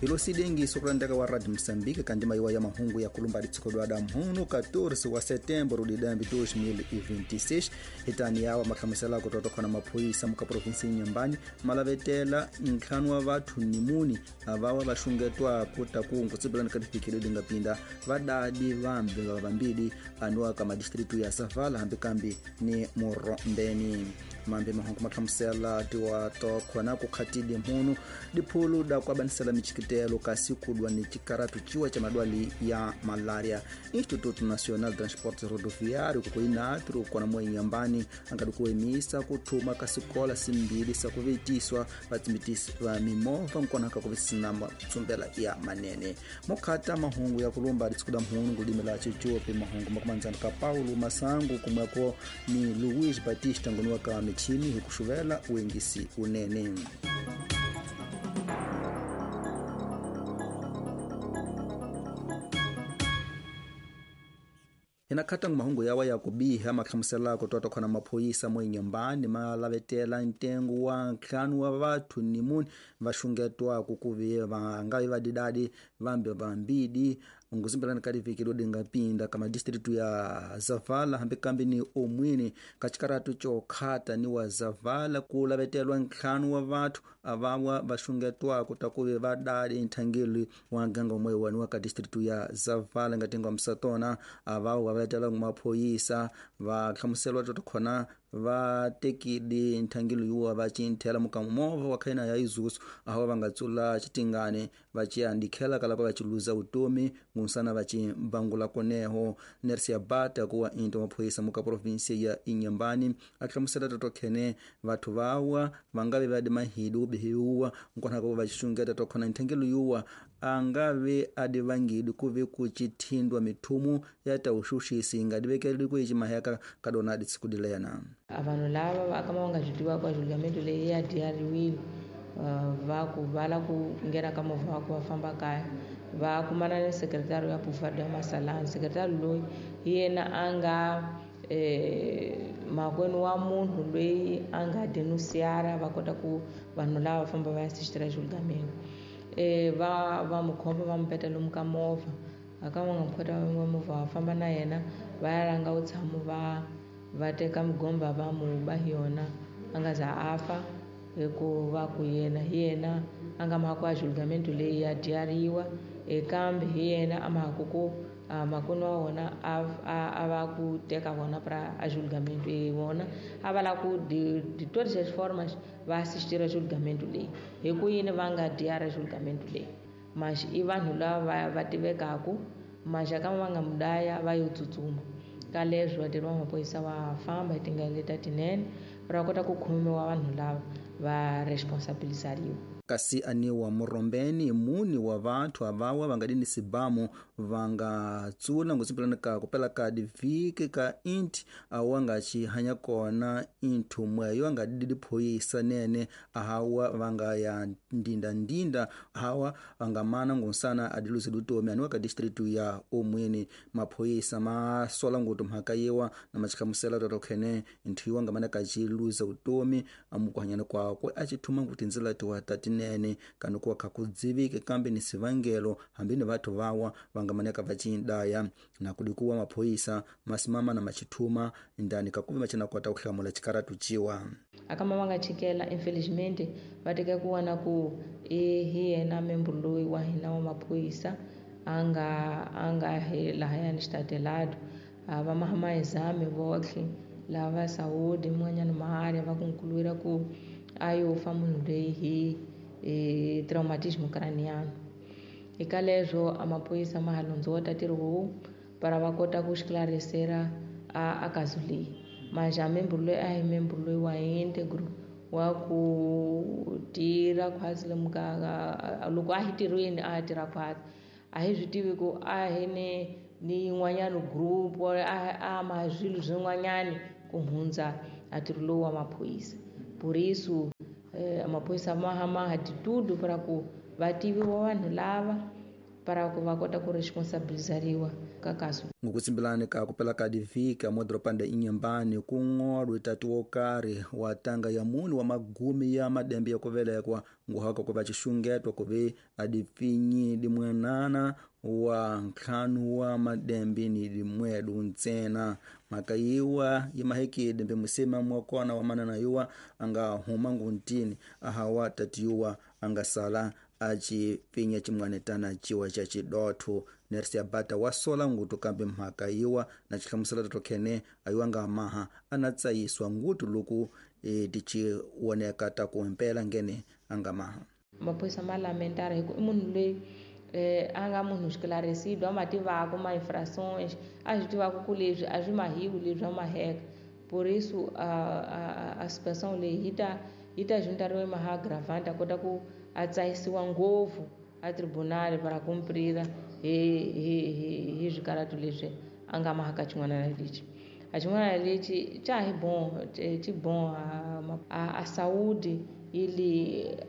Hilo sidengiso kulandeka wa Radio Moçambique kandima iwa ya mahungu ya kulumba ditshikodwada mhunu 14 wa setembro de 2026 hitani yawa makhamisela kutotokhona maphoyisa muka provinsi Inhambane malavetela ntlhanu wa vathu ni muni avawa vaxungetwa kuta kungu tsibelani ka tifikile lingapinda vadadi vambe va vambili anuwa ka madistritu ya Zavala hambi kambi ni Murombeni. Mambe mahungu mahlamusela tiwa tokhona kukhatili mhunu diphulu da kuabanisela michikitelo kasi kudwa ni chikaratu chiwa cha madwali ya malaria. Instituto Nacional de Transporte Rodoviário kukuinatru kona mwe Inhambane angadi kuemisa kuthuma kasikola simbili sakuvitiswa vatsimitisi va mimova nkonaka kuvisina tsumbela ya manene. Mukhata mahungu ya kulumba ditsikuda mhunu kulimela chichope mahungu makumanzana ka Paulo Masangu kumweko ni Luiz Batista ngoniwa ka michini hikuxuvela uengisi unene. Inakhatanga mahungu yawa ya kubiha mahlamusela kutotokhona maphoyisa mo Inhambane malavetela ntengo wa ntlhanu wa vathu ni muni vaxungetwa kukuvi va nga vadidadi vambe vambidi nguzimbelani ka liviki lodingapinda ka madistritu ya Zavala hambi kambi ni Omwini ka xikaratu xokhata ni wa Zavala ku lavetelwa ntlhanu wa vathu avawa vaxungetwa ta kuvi vadadi nthangeli wa nganga umwe wani wa ka distritu ya Zavala ngatengo msatona avawa vavetela maphoyisa va hlamuselwa totokhona va tekile nthangelo yuwa va cinthela mukamovha wa khaina ya Isuzu aho va nga tsula xitingane va ciandikhela kala va ciluza utomi ngunsana va cimbangula koneho. Nersia Bata kuwa into maphoyisa muka provinsia ya Inhambane a hlamusela totokhene vathu vawa va nga ve va di mahidu ubihiwa nkona ko va xungeta tokhona nthangelo yuwa a nga ve a di vangidi ku ve ku cithindwa mithumu ya ta uxuxisi nga divekeli ku icimaheka ka dona ditsikudilena. Vanhu lava va kama va nga byi tivaka julgamento leyi ya diyariwile va ku va la ku nghena ka movha wa ku va famba kaya va kumana ni sekretari ya Pufado ya Masalani. Sekretari loyi hi yena a nga makwenu wa munhu loyi a nga denunciara va kota ku vanhu lava va famba va ya assistira julgamento. Va mu khoma va mu peta lomu ka movha aka va nga mu khota va movha va famba na yena va ya langa vutshamo va teka migomba va mu ba hi yona a nga za a fa hikuva ku yena hi yena a nga mhaka ya julgamento leyi ya dyariwa kambe hi yena a mhaka ku makwenu wa wona a va ku teka vona pra a julgamento vona a va lava ku de todas as formas va assistira julgamento leyi hi ku yini va nga dyara julgamento leyi mas i vanhu lava va tivekaku maxaka va nga mudaya va yo tsutsuma ka leswi vatirhi va maphorisa va famba hi tindlela leta tinene va kota ku khomiwa vanhu lava va responsabilizariwa. Kasi aniwa Murombeni muni wa vathu avawa va nga dini sibamu va nga tsula nguzimpelani ka kupela ka divhiki ka inti awa nga xihanya kona inthu mweyo nga didi phoyisa nene ahawa va nga ya ndindandinda hawa va nga mana ngunsana adiluzi lutomi aniwa ka distritu ya Omwini. Maphoyisa ma sola ngutu mhaka yiwa na machihlamusela totokhene inthu yiwa nga mana ka ciluza utomi amukuhanyana kwakwe a cithuma ngu tindzela tiwa tati nene kana kuwa khakudzivike kambe ni sivangelo hambi ni vathu vawa va nga maneka va cindaya na kudikuwa maphoyisa masimama na machithuma ndani kakuve machina kota ku hlamula chikaratu ciwa. Akama va nga chikela infelizmente va teka ku wana ku hi yena membro loyi wa hina wa maphoyisa a nga hi lahayani xitadelado va mahamahizame votlhe lava saudi mun'wanyana maharya va ku nkulwira ku a yo fa munhu loyi hi traumatismo craniano. Eka leswo a maphorisa ma ha londzota ntirho lowu para va kota ku xiklarisera a kazu leyi. Mas a membro loyi a hi membro loyi wa integro wa ku tirha khwatsi lomu ka loko a hi tirhweni a tirha khwatsi a hi swi tivi ku a hi ni yin'wanyana group a ma swilo swin'wanyani ku hundza a ntirho lowu wa maphorisa. Por isso maphorisa ma ha de tudo para ku va tiviwa vanhu lava Para ku va kota ku responsabilizariwa ka kaso. Ngokutsimbilani ka kupela ka divhika modropani da Inhambane kung'olwe tati wo karhi wa tanga ya muni wa magumi ya madembe ya kuvelekwa nguhaka ku va xixungeto ku ve a dipfinyi dimwenana wa ntlhanu wa madembe ni dimwedu ntsena. Mhaka yiwa yi mahekile mbe musema mwa kona wa manana yiwa a nga huma nguntini ahawa tati yiwa a nga sala a ci pfinya ximwanetana ciwa xa xidotho. Nersia Bata wa sola ngutu kambe mhaka yiwa na xihlamusela tokhene a yiwa nga maha a na tsayiswa ngutu loku ti woneka ta ku himpela ngene a nga maha. Maphorisa ma lamentara hi ku i munhu loyi a nga munhu esclarecido, a ma tivaka ma infrações, a swi tivaka ku leswi a swi mahiwi leswi a maheka. Por isso a situação leyi yi ta juntariwa maha agravante, a kota ku a tsayisiwa ngopfu a tribunal para cumprira hi swikaratu leswi a nga mahaka xin'wana lexi. A xin'wana lexi xa hi bon, xi bon a saúde, ele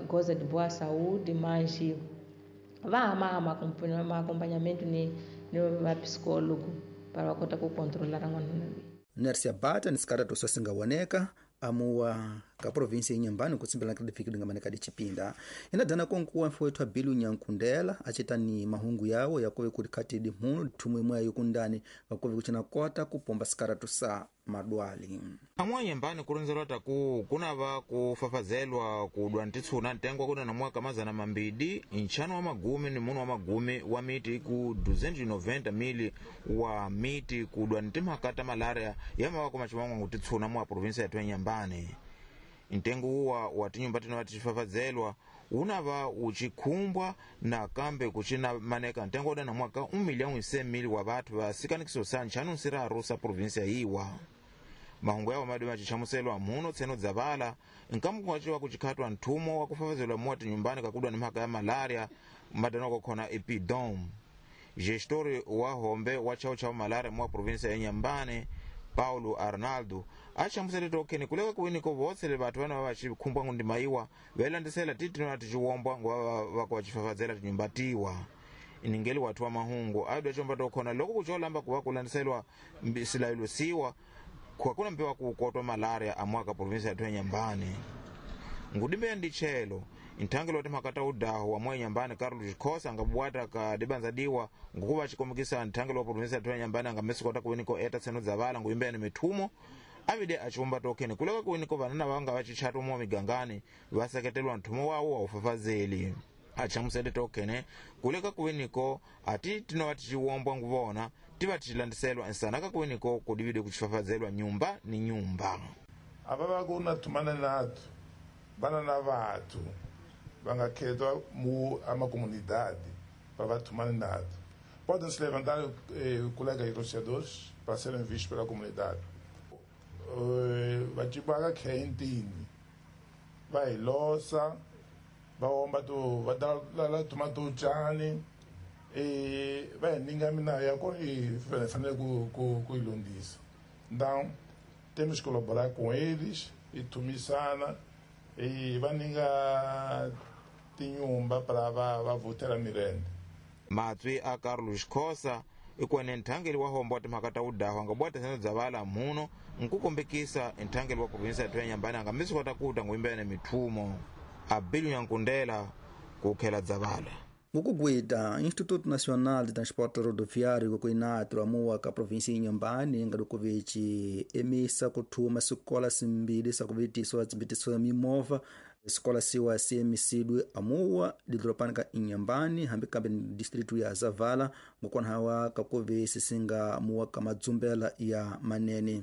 goza de boa saúde, mas va hama ma acompanhamento ni va psicólogo para va kota ku controlar n'wana loyi. Nersia Bata ni sikaratu swa singawoneka amuwa ka provinsi ya Inhambane kutsimbelana ka difiki dinga maneka dicipinda. Ina dana konkuwa mfowethu wa Bilu Nyankundela acita ni mahungu yawo yakove kuti khati dimhunu thumwe imwe yokundani kakuve kucina kota kupomba sikaratu sa madwali. Amwa Inhambane kurondzelwa taku kunava kufafazelwa kudwa ntitshuna ntengo wa kuna na mwaka mazana mambidi nchano wa magumi ni munu wa magumi wa miti ku 290 mili wa miti kudwa ntimhaka ta malaria yamawako machimango ngutitshuna mwa provinsi ya Inhambane. Ntengo uwa wa tinyumba tinova tichifafazelwa unava uchikhumbwa na kambe kuchina maneka ntengo uda na mwaka 1,100,000 wa vathu vasikanikiso sa nchanu nsiraru sa provinsia iwa. Mahungu yawo madi machichamuselwa muno tseno dzavala nkamu waciwa kuchikhatwa nthumo wa kufafazelwa muwa tinyumbani kakudwa ni mhaka ya malaria madano kokhona epidom. Gestori wa hombe wa chao cha malaria muwa provinsia ya Inhambane Paulo Arnaldo achamusele tokheni kuleka kuwiniko votsele vathu vana vavacikhumbwa ngundimaiwa velandisela titino ticiwombwa nguva vakuva tinyumba tiwa. Iningeli wathu wa mahungu adwa chomba tokhona loko kucholamba kuva kulandiselwa silayilo siwa kwakuna mpewa kukotwa malaria amwaka provinsi yathu ya Inhambane. Ngudimbeya ndichelo nthangelo wa timhaka ta udahu wa mwa Inhambane Carlos Xhosa angabwata ka dibanza diwa ngukuva acikomekisa nthangelo wa provinsi yathu ya Inhambane angamesukota kuwiniko eta tseno dzavala nguyimbeya ni mithumo avide aciwomba tokheni kuleka kuwiniko vanana vanga vacichatwa mwa migangani vaseketelwa nthumo wawo wa ufafazeli. Achamusele tokhene kuleka kuwiniko ati tinova ticiwombwa nguvona tiva ticilandiselwa nsanaka kuwiniko kudivide kucifafazelwa nyumba ni nyumba. Ava vakuna thumana nathu vana na vathu vangakhethwa mu amacomunidade para vathumana nathu. Podem se levantar colegas negociadores para serem vistos pela comunidade. Vachibaka khentini va hi losa va omba to va dala tuma to tjani va hi ninga mina ya ku hi fanele ku yi lunghisa. Então temos que colaborar com eles e tumisana e va ninga tinyumba para va vutela mirende. Matswi a Carlos Xhosa ikwene nthangeli wa hombo wa timhaka ta udahu angabwata tseno dzavala muno nkukombekisa nthangeli wa provinsi ya Inhambane angamisukota kuta nguyimbeya na mithumo. Abilu Nyankundela kukhela dzavala. Ngukugwida Instituto Nacional de Transporte Rodoviário ku Inatro amuwa ka provinsi ya Inhambane ngalukuve ci emisa kuthuma swikola simbili swa kuvitiswa tsimbitiso mimovha. Escola siwa siemisidwe amuwa didropani ka Inhambane hambi kambe distritu ya Zavala ngokona hawa kakuve sisinga muwa ka madzumbela ya manene.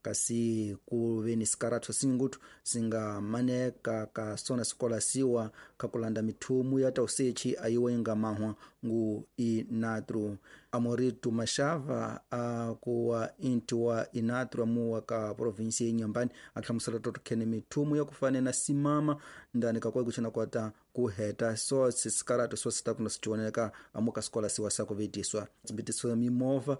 Kasi kuve ni sikaratu singutu singa maneka ka sona sikola siwa kakulanda mithumu ya tausechi ayiwa inga mahwa ngu inatru. Amoritu Mashava akuwa inti wa inatru amuwa ka provinsi ya Inhambane ahlamusela totokhene mithumu ya kufane na simama ndani kakwe kuchina kwata kuheta so sikaratu so sitakuna sichioneka amuka sikola siwa sakuvitiswa tsimbitiso ya mimova.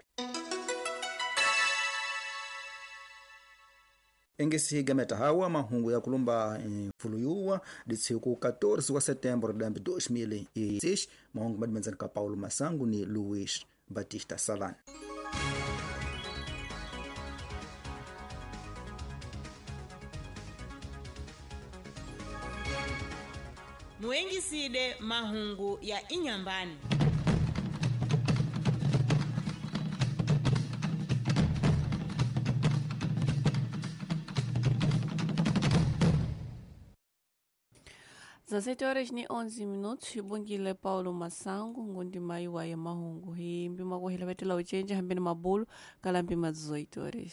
Engesi gameta hawa mahungu ya kulumba mfuluyuwa ditsiku 14 wa setembro dambi 2006 mahungu madimenzani ka Paulo Masangu ni Luis Batista Salani. Muengiside mahungu ya inyambani. Dezessete horas e 11 minutos, xibungile Paulo Masango, ngundi mayi wa ya mahungu. Hi mpima kuhila vetela uchenja hambeni mabulu, kala mpima 18 horas.